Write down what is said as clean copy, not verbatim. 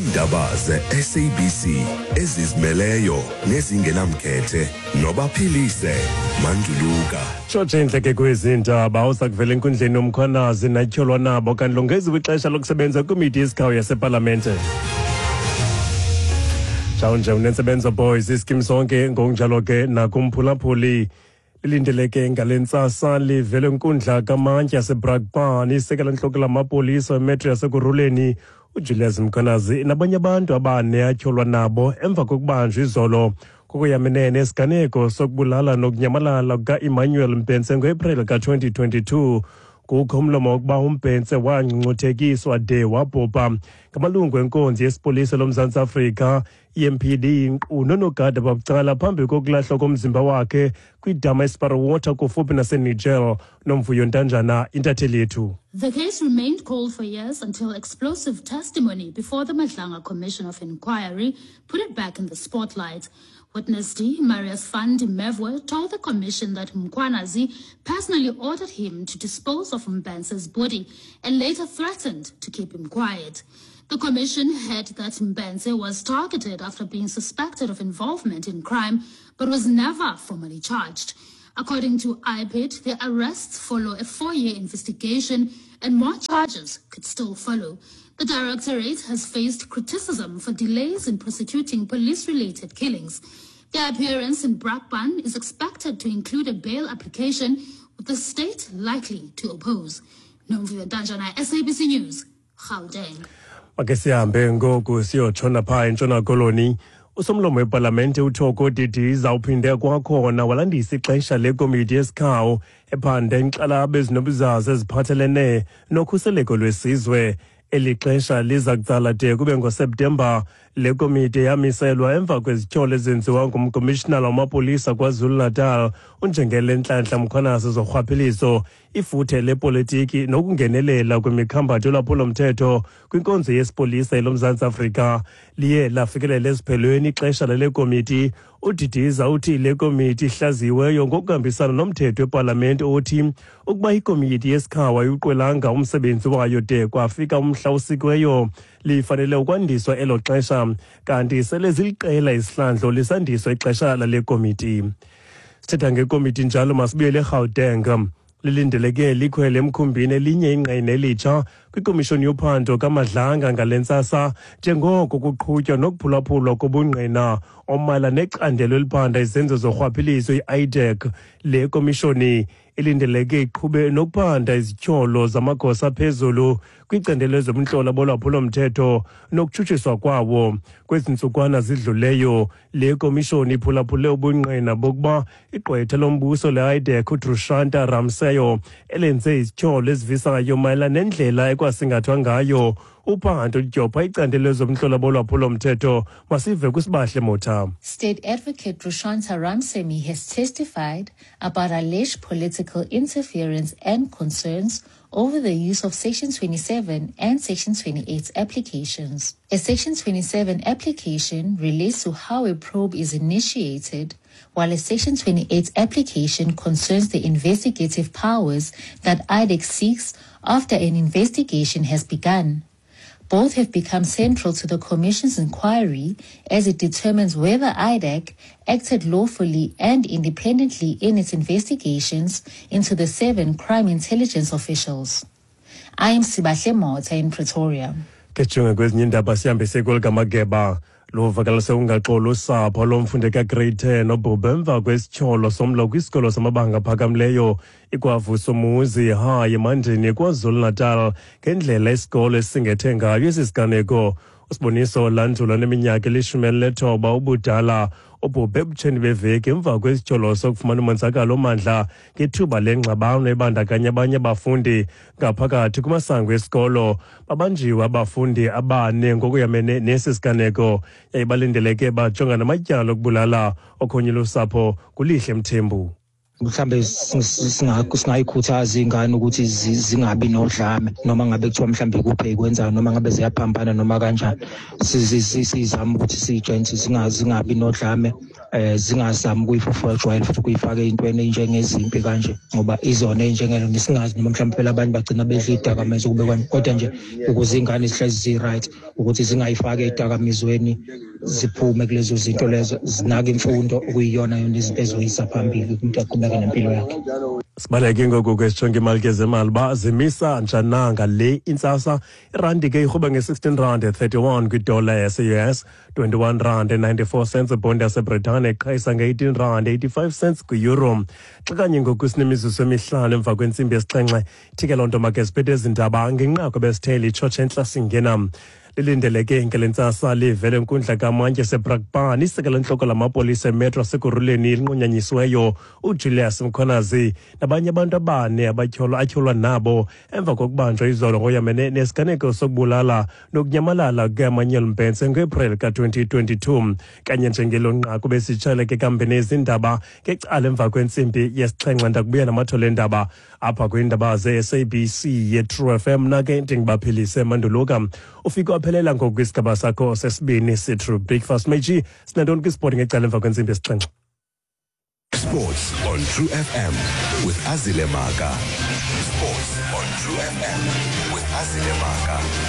Iindaba ze-SABC ezizimeleyo nezingenamkhethe nobaphilise manduluka. Tshotshe intleke kwezi ndaba uza kuvela enkundleni uMkhwanazi natyholwa nabo kanti longeziwe ixesha lokusebenza kwikomiti yesikhawu yasepalamente. Njawunje unentsebenzo boys iskim sonke ngokunjalo ke nakumphulaphuli. Lilindeleke ngale ntsasa livele nkundla kamantyi yaseBrakpan isekela ntloko lamapolisa emetro yasekuruleni uJulius Mkhwanazi nabanye abantu abane atyholwa nabo emva kokubanjwa izolo kokuyaminene esiganeko sokubulala nokunyamalala kuka-Emmanuel Mbense ngoApril ka-2022. Kukho umlomo wokuba uMbense wangcungcuthekiswa de wabhubha ngamalungu enkonzo yesipolisa loMzantsi Afrika EMPD nkqu noonogada babucala phambi kokulahlwa komzimba wakhe kwidama eSparwater kufuphi naseNigel. Nomvuyo Ntanjana, intatheli yethu. The case remained cold for years until explosive testimony before the Madlanga Commission of Inquiry put it back in the spotlight. Witness D, Marius van der Merwe, told the commission that Mkhwanazi personally ordered him to dispose of Mbense's body and later threatened to keep him quiet. The commission heard that Mbense was targeted after being suspected of involvement in crime, but was never formally charged. According to IPID, the arrests follow a 4-year investigation and more charges could still follow. The directorate has faced criticism for delays in prosecuting police-related killings. Their appearance in Brakpan is expected to include a bail application, with the state likely to oppose. Nomvuyo Ntanjana, SABC News, Gauteng. Make sihambe ngoku siyotshona phaa eNtshona Koloni. Usomlomo wepalamente uThoko Didiza uphinde kwakhona walandisa ixesha lekomiti yesikhawu ephanda inkxalabo ezinobuzaza eziphathelene nokhuseleko lwesizwe. Eli xesha liza kutsala de kube ngoSeptemba. Le komiti yamiselwa emva kwezityholo ezenziwa ngumkomishinala wamapolisa KwaZulu-Natal uNjengele Nhlanhla Mkhwanazi zorhwaphilizo, ifuthe lepolitiki nokungenelela kwimikhambatho yolwaphulomthetho kwinkonzo yesipolisa eloMzantsi Afrika. Liye lafikelela esiphelweni ixesha lale komiti. UDidiza uthi le komiti ihlaziyiweyo ngokuhambisana nomthetho wepalamente othi ukuba ikomiti yesikhawa ayiwuqwelanga umsebenzi wayo de kwafika umhla osikiweyo, lifanele ukwandiswa elo xesha, kanti sele ziliqela isihlandlo lisandiswa ixesha lale komiti. Sithetha ngekomiti njalo, masibuyele eGauteng. Lilindeleke likhwele emkhumbini elinye ingqina elitsha kwikomishoni yophando kaMadlanga ngale ntsasa njengoko kuqhutywa nokuphulaphulwa kobungqina omala necandelo eliphanda izenzo zorhwaphilizo i-IDAC. Le komishoni ilindeleke iqhube nokuphanda izityholo zamagosa aphezulu kwicandelo lezobunhlola bolwaphulomthetho nokutshutshiswa kwawo. Kwezi ntsukwana zidluleyo, le komishoni iphulaphule ubungqina bokuba igqwetha lombuso le-IDAC uDrushanta Ramseyo elenze izityholo ezivisayo mayelana nendlela ekwasingathwa ngayo uphando ludyobha icandelo lezobunhlola bolwaphulomthetho. Masive kuSibahle Motha. State Advocate Drushanta Ramsemi has testified about alleged political interference and concerns over the use of Section 27 and Section 28 applications. A Section 27 application relates to how a probe is initiated, while a Section 28 application concerns the investigative powers that IDAC seeks after an investigation has begun. Both have become central to the Commission's inquiry as it determines whether IDAC acted lawfully and independently in its investigations into the 7 crime intelligence officials. I am Sibahle Motha in Pretoria. Ke sijonge kwezinye iindaba, sihambe kwelikamageba. Luvakalise ungaxoli usapho lomfundi ka-grade 10 obhubhe emva kwesityholo somlo kwisikolo samabanga aphakamileyo iKwaVusumuzi High eMandini KwaZulu-Natal ngendlela isikolo esingethe ngayo esi siganeko. USiboniso Landula neminyaka eli-19 ubudala ubhubhe ebutsheni beveki emva kwesityholo sokufumana umonzakalo omandla ngethuba lengxabano ebandakanya abanye abafundi ngaphakathi kumasango esikolo. Babanjiwe abafundi abane ngokuyamene nesi siganeko yaye balindeleke bajonga namatyala okubulala. Okhonye lusapho kuLihle Mthembu. Mhlambe singayikhuthaza iy'ngane ukuthi zingabi nodlame, noma ngabe kuthiwa mhlambe kuphe kwenzayo, noma ngabe ziyaphambana noma kanjani, sizame ukuthi siy'tshele ukuthi zingabi nodlame. Zingazami ukuyifofojwayela futhi ukuyifaka ey'ntweni ey'njengezimpi kanje, ngoba izona ey'njengelo nesingazi noma mhlawumbe phela abanye bagcina bedla iy'dakamizwa kube kwani. Kodwa nje ukuze iy'ngane zihlezi zi-right, ukuthi zingayifaki ey'dakamizweni, ziphume kulezo zinto lezo, zinake imfundo okuyiyona yona izinto ezoyisa phambili, umuntu aqhubeke nempilo yakhe. Sibaleke ngoku ke sijonge imali ke zemali uba zimisa njani na ngale intsasa. Irandi ke irhuba nge-16 rand 31 kwidola yase-US, 21 rand 94 cents ibhondi yaseBritane, iqhayisa nge-18 rand 85 cents kwi-euro. Xa kanye ngoku sinemizuzu emihlanu emva kwentsimbi yesixhenxe, ithi ke loo nto make siphethe ezi ndaba ngenqaku besithele itshotshe entla singena. Lilindeleke ngale ntsasa livele enkundla kamantyi eseBrakpan isekela ntloko lamapolisa emetro asekuruleni elinqunyanyisiweyo uJulius Mkhwanazi nabanye abantu abane abatyholwa atyholwa nabo emva kokubanjwa izolo ngoyamene nesiganeko sokubulala nokunyamalala kukaEmmanuel Mbhense ngoApril ka-2022. Kanye njengelo nqaku besitsheleke kambe nezindaba ngecala emva kwentsimbi yesixhenxe, ndakubuya namathole endaba apha kwiindaba ze-SABC ye-True FM. Nake ndingibaphilise Manduluka, ufike waphelela ngoku kwisigaba sakho sesibini se-True Breakfast. Meji, sinantoni kwisport ngecala emva kwentsimbi yesixhenxe? Sports on True FM with Azile Maka. Sports on True FM with Azile Maka.